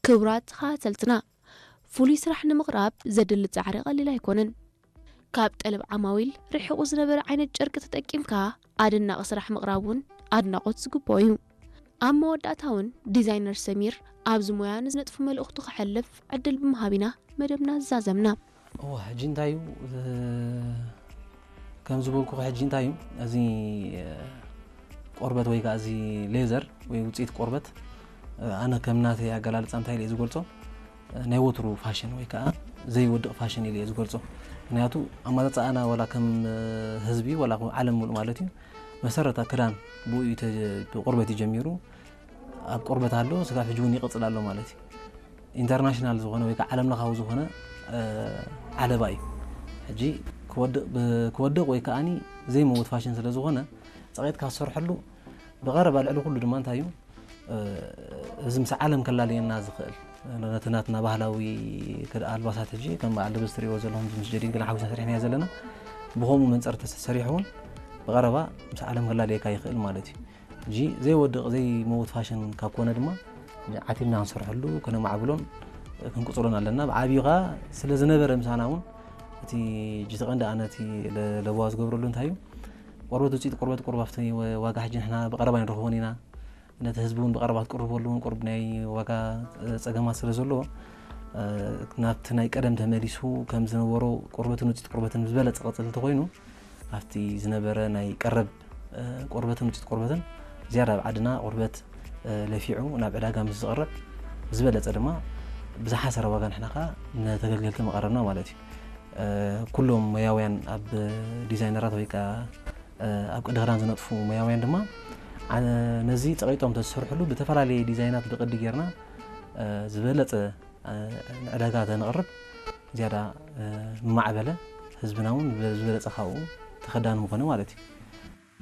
ክቡራት ተኸታተልትና፣ ፍሉይ ስራሕ ንምቕራብ ዘድሊ ጻዕሪ ቀሊል ኣይኮነን። ካብ ጠለብ ዓማዊል ርሒቑ ዝነበረ ዓይነት ጨርቂ ተጠቂምካ ኣደናቒ ስራሕ ምቕራብ እውን ኣድናቖት ዝግብኦ እዩ። ኣብ መወዳእታ እውን ዲዛይነር ሰሚር ኣብዚ ሞያ ንዝነጥፉ መልእኽቱ ከሕልፍ ዕድል ብምሃብ ኢና መደብና ዝዛዘምና። እዋ፣ ሕጂ እንታይ እዩ? እ፣ ከም ዝበልኩ ሕጂ እንታይ እዩ? እዚ፣ እ፣ ቆርበት ወይ ከዓ እዚ ሌዘር ወይ ውፅኢት ቆርበት፣ እ፣ ኣነ ከም ናተይ ኣገላልፃ እንታይ ኢለ ዝገልፆ፣ እ፣ ናይ ወትሩ ፋሽን ወይ ከዓ ዘይወድቕ ፋሽን ኢለ ዝገልፆ። ምክንያቱ ኣማፃፅኣና ዋላ ከም፣ እ፣ ህዝቢ ዋላ ከም ዓለም ሙሉእ ማለት እዩ፣ መሰረታ ክዳን ብኡ እዩ ተ-፣ ብቆርበት እዩ ጀሚሩ። ኣብ ቆርበት ኣሎ፣ ስጋብ ሕጂ እውን ይቕፅል ኣሎ ማለት እዩ። ኢንተርናሽናል ዝኾነ ወይ ከዓ ዓለም ለኻዊ ዝኾነ፣ እ፣ ዓለባ እዩ። ሕጂ ክወድቕ፣ ብ-፣ ክወድቕ ወይ ከዓኒ ዘይመውት ፋሽን ስለ ዝኾነ፣ ፀቒጥካ ዝሰርሐሉ ብቐረባ ልዕሊ ኩሉ ድማ እንታይ እዩ፣ እ፣ እዚ ምስ ዓለም ከላልየና ዝኽእል፣ ነቲ ናትና ባህላዊ ክድ-፣ ኣልባሳት ሕጂ ከም በዓል ልብስ ትሪእዎ ዘለኹም ምስ ጀዲድ ግን ሓዊስና ሰሪሕናዮ ዘለና፣ ብኸምኡ መንፅር ተሰሪሑ እውን ብቐረባ ምስ ዓለም ከላልየካ ይኽእል ማለት እዩ። ሕጂ ዘይወድቕ ዘይመውት ፋሽን ካብ ኮነ ድማ ዓቲብና ክንሰርሐሉ፣ ከነማዕብሎን ክንቅፅሎን ኣለና። ብዓብዩ ኸዓ ስለ ዝነበረ ምሳና እውን እቲ ሕጂ እቲ ቀንዲ ኣነ እቲ ለ-፣ ለበዋ ዝገብረሉ እንታይ እዩ፣ ቆርበት ውፅኢት ቆርበት ቁሩብ ኣብቲ ወ-፣ ዋጋ ሕጂ ንሕና ብቐረባ ንረኽቦን ኢና። ነቲ ህዝቢ እውን ብቐረባ ክትቅርበሉ እውን ቁሩብ ናይ ዋጋ ጸገማት ስለ ዘለዎ፣ እ፣ ናብቲ ናይ ቀደም ተመሊሱ ከም ዝነበሮ ቆርበትን ውፅኢት ቆርበትን ዝበለጸ ቅፅል እንተኾይኑ፣ ኣብቲ ዝነበረ ናይ ቀረብ፣ እ፣ ቆርበትን ውፅኢት ቆርበትን ዝያዳ ኣብ ዓድና ቆርበት፣ እ፣ ለፊዑ ናብ ዕዳጋ ምስ ዝቐርብ፣ ዝበለጸ ድማ ብዝሓሰረ ዋጋ ንሕና ኸዓ ንተገልገልቲ መቐረብና ማለት እዩ። እ፣ ኩሎም ሞያውያን ኣብ ዲዛይነራት ወይ ከዓ፣ እ፣ ኣብ ቅዲ ክዳን ዝነጥፉ ሞያውያን ድማ፣ ዓ-፣ ነዚ ጸቒጦም ተዝሰርሕሉ ብተፈላለየ ዲዛይናት ብቕዲ ጌርና፣ እ፣ ዝበለጸ፣ እ፣ ንዕዳጋ ተነቕርብ ዝያዳ፣ እ፣ ምማዕበለ፣ ህዝብና እውን ዝበ-፣ ዝበለጸ ካብኡ ተኸዳኒ ምኾነ ማለት እዩ።